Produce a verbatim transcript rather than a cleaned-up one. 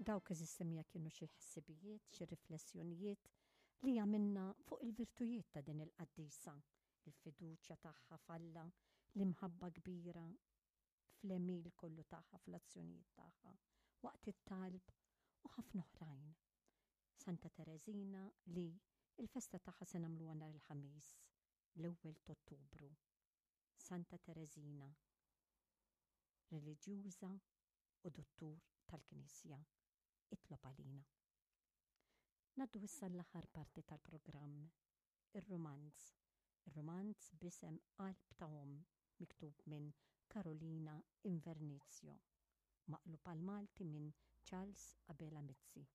Dawk, għeżież semmiegħa, kienu xi ħsibijiet, xi riflessjonijiet li għamilna fuq il-virtujiet ta' din il-qaddisa, il-fiduċja tagħha f'Alla, l-imħabba kbira fl-għemil kollu tagħha, fl-azzjonijiet tagħha, waqt it-talb u ħafna oħrajn. Santa Tereżina, li il-festa tagħha se nagħmluha nhar il-Ħamis, l-ewwel t'Ottubru. Santa Tereżina, reliġjuża u dottur tal-Knisja, itlob għalina. Ngħaddu issa l-aħħar parti tal-programm, ir-romanz. Ir-romanz b'isem Qalb ta' Omm, miktub minn Carolina Invernizio, maqlub għal Malti minn Charles Abela Mizzi.